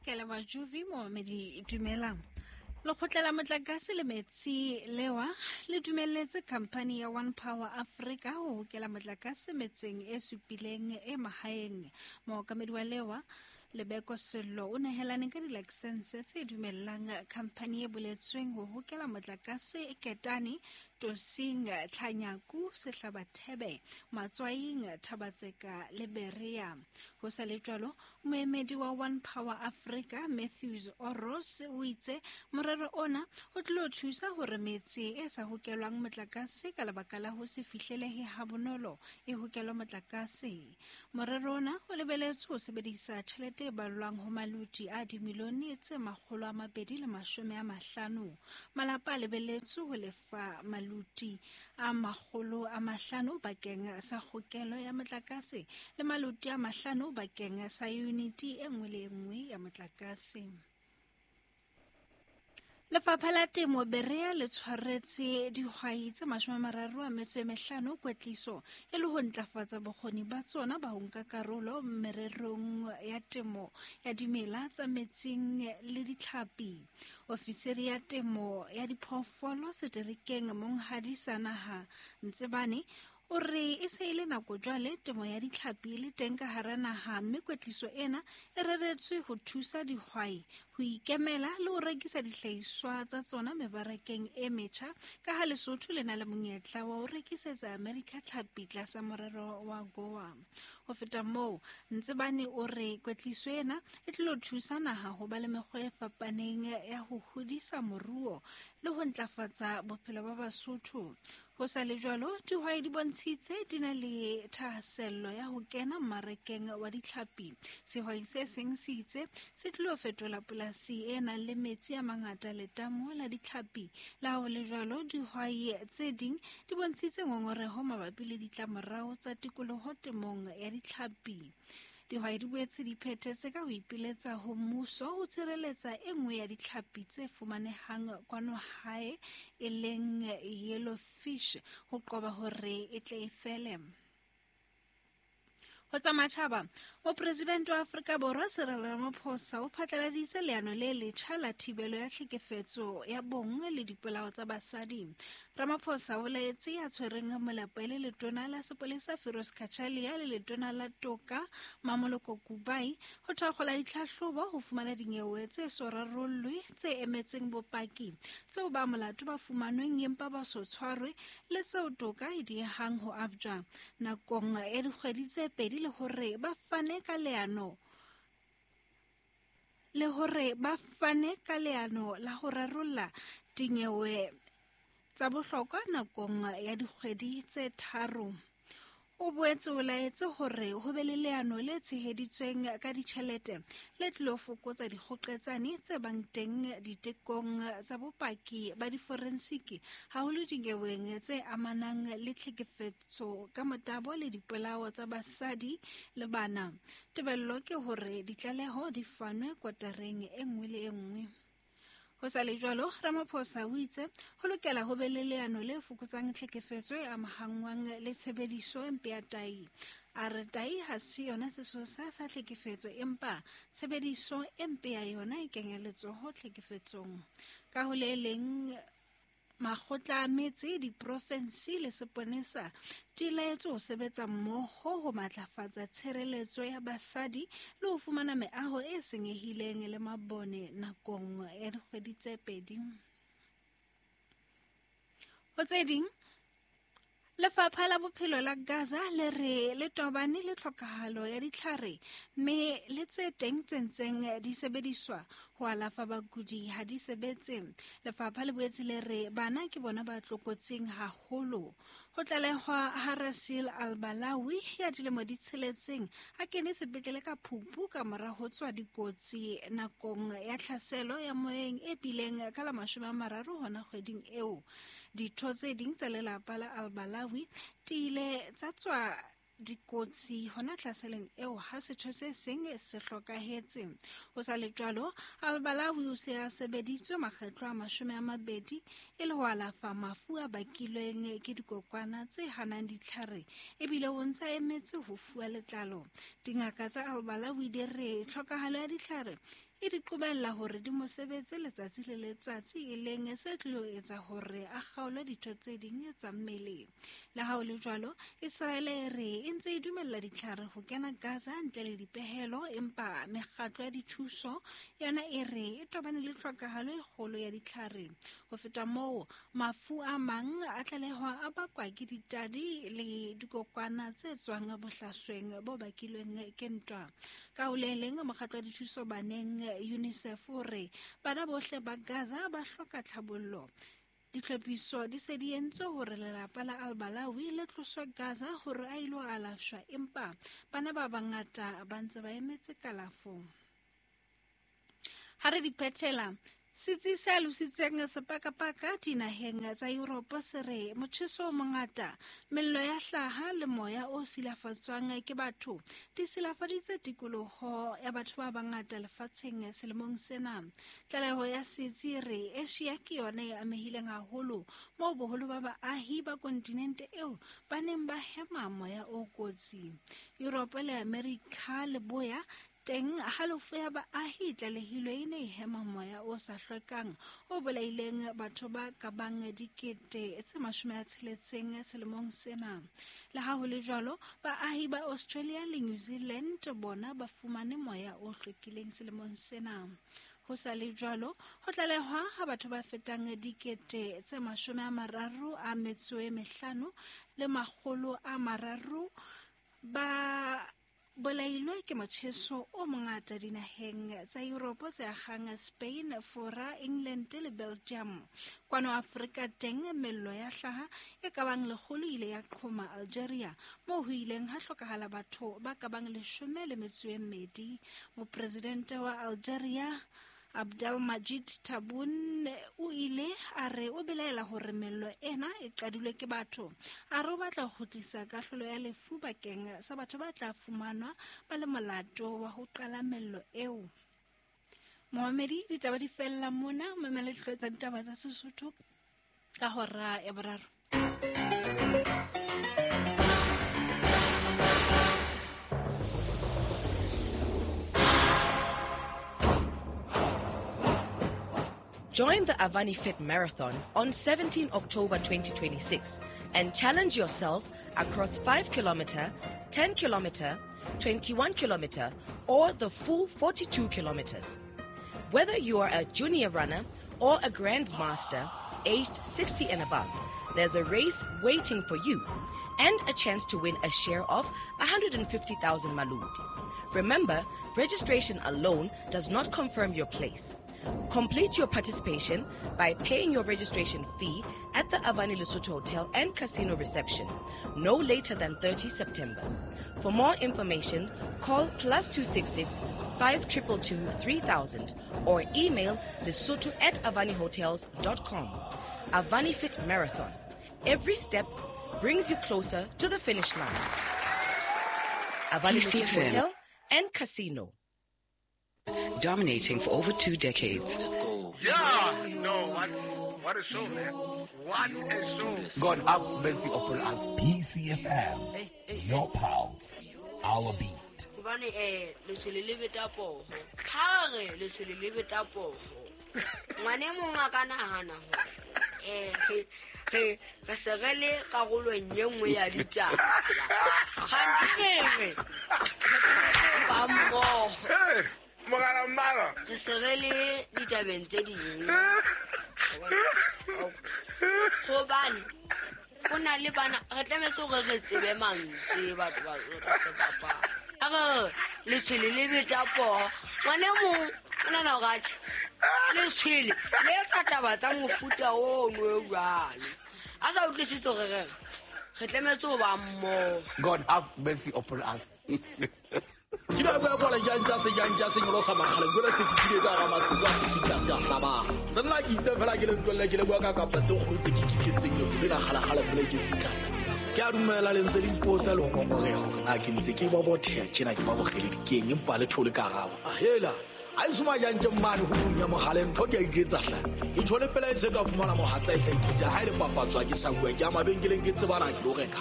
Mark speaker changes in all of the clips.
Speaker 1: Ke leboha Juvi momamedi dumelang. Lekgotla la motlakase le metsi lewa le dumelletse khamphani ya One Power Africa ho hokela motlakase metseng e supileng e mahaeng. Mookamedi wa lewa Lebeko Sello o nehelane ka dilakesense tse dumellang khamphani e boletsweng ho hokela motlakase Ketane, Tosing, Tlhanyaku, Sehlabathebe, Matswaing, Thabatseka le Berea. Ho sa le jwalo, moemedi wa One Power Africa, Matthews Oros, o itse morero ona o tlilo thusa hore metse e sa hokelwang motlakase ka lebaka la ho se fihlelehe habonolo e hokelwe motlakase. Morero ona o lebeletswe ho sebedisa tjhelete e ballwang ho maloti a dimilione tse 250. Malapa a lebeletswe ho lefa maloti a 500 bakeng sa kgokelo ya motlakase le maloti a 5 bakeng sa yuniti e nngwe le e nngwe ya motlakase. Lefapha la Temo Berea le tshwaretse dihwai tse 35 kwetliso e le ho ntlafatsa bokgoni ba tsona ba ho nka karolo mererong ya temo ya dimela tsa metsing le ditlhapi. Ofisiri ya temo ya diphoofolo seterekeng Monghadi Sanaha Ntsebane o re e se e le nako jwale temo ya ditlhapi e le teng ka hara naha mme kwetliso ena e reretswe ho thusa dihwai ho ikemela le ho rekisa dihlahiswa tsa tsona mebarakeng e metjha ka ha Lesotho le na le monyetla wa ho rekisetsa Amerika tlhapi tlasa morero wa Goa. Ho feta moo, Ntsebane o re kwetliso ena e tlilo thusa naha ho ba le mekgwa e fapaneng ya ho hodisa moruo le ho ntlafatsa bophelo ba Basotho. Ho sa le jwalo, dihwai di bontshitse di na le thahasello ya ho kena mmarakeng wa ditlhapi. Sehwai se seng se itse se tlilo fetola polasi e nang le metsi a mangata letamo la ditlhapi. Le ha ho le jwalo, dihwai tse ding di bontshitse ngongoreho mabapi le ditlamorao tsa tikoloho temong ya ditlhapi. Dihwai di boetse di phethetse ka ho ipiletsa ho mmuso ho tshireletsa e nngwe ya ditlhapi tse fumanehang kwano hae e leng yellow fish ho qoba hore e tle e fele. Ho tsa matjhaba, mopresidente wa Afrika Borwa Cyril Ramaphosa o phatlaladitse leano le letjha la thibelo ya tlhekefetso ya bong le dipolao tsa basadi. Ramaphosa o laetse ya tshwereng molapo e le letona la sepolesa Firoz Cachalia le letona la toka Mamoloko Kubai ho thakgola ditlhahlobo ho fumana dinyewe tse so rarollwe tse emetseng bopaki tseo ba molato ba fumanweng empa ba so tshwarwe le tseo toka e diehang ho abjwa nakong ya dikgwedi tse pedi le hore ba fane ka leano le hore ba fane ka leano la ho rarolla dinyewe tsa bohlokwa nakong ya dikgwedi tse tharo. O boetse o laetse hore ho be le leano le tsheheditsweng ka ditjhelete le tlilo fokotsa dikgoqetsane tse bang teng ditekong tsa bopaki ba diforensiki haholo dinyeweng tse amanang le tlhekefetso ka motabo le dipolao tsa basadi le bana. Tebello ke hore ditlaleho di fanwe kotareng e nngwe le e nngwe. Ho sa le jwalo, Ramaphosa o itse ho lokela ho be le leano le fokotsang tlhekefetso e amahangwang le tshebediso e mpe ya tai. A re tai ha se yona sesosa sa tlhekefetso empa tshebediso e mpe ya yona e kenya letsoho tlhekefetsong. Ka ho le leng, makgotla a metse, diprofensi le seponesa di laetswe ho sebetsa mmoho ho matlafatsa tshireletso ya basadi le ho fumana meaho e senyehileng le mabone nakong ya dikgwedi tse pedi. Ho tse ding, Lefapha la Bophelo la Gaza le re le tobane le tlhokahalo ya ditlhare mme le tse teng tse ntseng di sebediswa ho alafa bakudi ha di sebetse. Lefapha le boetse le re bana ke bona ba tlokotsing haholo. Ho tlalehwa ha Rasil Al-Balawi ya dilemo di tsheletseng a kene sepetlele ka phupu ka mora ho tswa dikotsi nakong ya tlhaselo ya moyeng e bileng ka la 30 hona kgweding eo. Ditho tse ding tsa lelapa la Al-Balawi di ile tsa tswa dikotsi hona tlaseleng eo ha setho se seng se hlokahetse. Ho sa le jwalo, Al-Balawi o se a sebeditswe makgetlo a 20 e le ho alafa mafu a bakilweng ke dikokwana tse hanang ditlhare ebile o ntse a emetse ho fuwa letlalo. Dingaka tsa Al-Balawi di re tlhokahalo ya ditlhare e di qobella hore di mo sebetse letsatsi le letsatsi, e leng se tlilo etsa hore a kgaolwe ditho tse ding tsa mmele. Le ha ho le jwalo, Israele e re e ntse e dumella ditlhare ho kena Gaza ntle le dipehelo, empa mekgatlo ya dithuso yona e re e tobane le tlhokahalo e kgolo ya ditlhare. Ho feta moo, mafu a mang a tlalehwa a bakwa ke ditadi le dikokwana tse tswang bohlasweng bo bakilweng ke ntwa. Ka ho le leng, mokgatlo wa dithuso baneng UNICEF o re bana bohle ba Gaza ba hloka tlhabollo. Ditlhophiso di se di entswe hore lelapa la Al-Balawi le tloswe Gaza hore a ilo alafshwa, empa bana ba bangata ba ntse ba emetse kalafo. Ha re di phethela, setsi se alositseng sepakapaka dinaheng tsa Europe se re motjheso o mongata, mello ya hlaha le moya o silafatswang ke batho di silafaditse tikoloho ya batho ba bangata lefatsheng selemong sena. Tlaleho ya setsi e re Asia ke yona e amehileng haholo, moo boholo ba baahi ba kontinente eo ba neng ba hema moya o kotsi. Europe le Amerika Leboya teng halofo ya baahi e tlalehilwe e ne e hema moya o sa hlwekang o bolaileng batho ba ka bang 60,000 selemong sena. Le ha ho le jwalo, baahi ba Australia le New Zealand bona ba fumane moya o hlwekileng selemong sena. Ho sa le jwalo, ho tlalehwa ha batho ba fetang 35,300 ba bolailwe ke motjheso o mongata dinaheng tsa Europe tse akgang Spain, Fora, England le Belgium. Kwano Afrika teng mello ya hlaha e ka bang 100 ile ya qhoma Algeria, moo ho ileng ha hlokahala batho ba ka bang 12. Mopresidente wa Algeria Abdelmadjid Tebboune o ile a re o belaela hore mello ena e qadilwe ke batho. A re o batla ho kgutlisa kahlolo ya lefu bakeng sa batho ba tla fumanwa ba le molato wa ho qala mello eo. Momamedi, ditaba di fella mona, mamela dihlooho tsa ditaba tsa Sesotho ka hora ya boraro.
Speaker 2: Join the Avani Fit Marathon on 17 October 2026 and challenge yourself across 5 kilometer, 10 kilometer, 21 kilometer, or the full 42 kilometers. Whether you are a junior runner or a grandmaster aged 60 and above, there's a race waiting for you and a chance to win a share of 150,000 maloti. Remember, registration alone does not confirm your place. Complete your participation by paying your registration fee at the Avani Lesotho Hotel and Casino reception no later than 30 September. For more information, call +266 522 3000 or email lesotho@avanihotels.com. Avani Fit Marathon. Every step brings you closer to the finish line. Avani Lesotho Hotel and Casino.
Speaker 3: Dominating for over 2 decades.
Speaker 4: Let's go. Yeah, no, what a show, man. What a show.
Speaker 5: God have mercy upon us.
Speaker 6: PCFM, your pals, our beat.
Speaker 7: Hobane letshwele le beta poho. Ha re letshwele le beta poho. Ngwane mong a ka nahana hore re se re le karolong e nngwe ya ditaba. Kganthe re ba mmoho.
Speaker 4: Mogala mmala.
Speaker 7: Re se re le ditabeng tse ding. Hobane o na le bana, re tlametse hore re tsebe mantswe batho ba re bapala. A re letshwele le beta poho. Ngwane mong o nahana hore atjhe, letshwele le etsa taba tsa mofuta ono o jwalo. A sa utlwisise hore re tlametse ho ba mmoho.
Speaker 5: God have mercy upon us.
Speaker 8: Ke ba bua kwala jantja se jantja se nyolosa makgale jwale se fihlile ka hara masiu a se fihla se a hlabang. Se nna ke itse fela ke le ntwelle ke le bua ka kapa tse kgolo tse ke kiketseng le le kgalakgala fela ke fihla. Ke a dumela le ntse le ipotsa le ho ngongoreha hore na ke ntse ke ba botheha tjena ke ba bokgele dikeng empa le thole karabo. Ahela a e soma jantje mmane ho bung ya mohale ntho ke a iketsa hle. Ke tjhole pela e se ka fumana mohatla e sa ikise ha e le papatswa ke sa bua ke a mabenkeleng ke tsebana ke lo reka.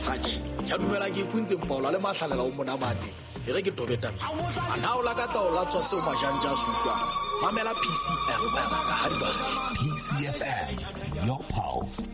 Speaker 8: Hatjhe, ke a dumela ke ipuntse mpaola le mahlalela o mona mane. E re ke tobe tabeng. A na o lakatsa ho latswa seo majanja a se utlwang? Mamela PCFM ka ha di batla.
Speaker 6: PCFM, your pulse,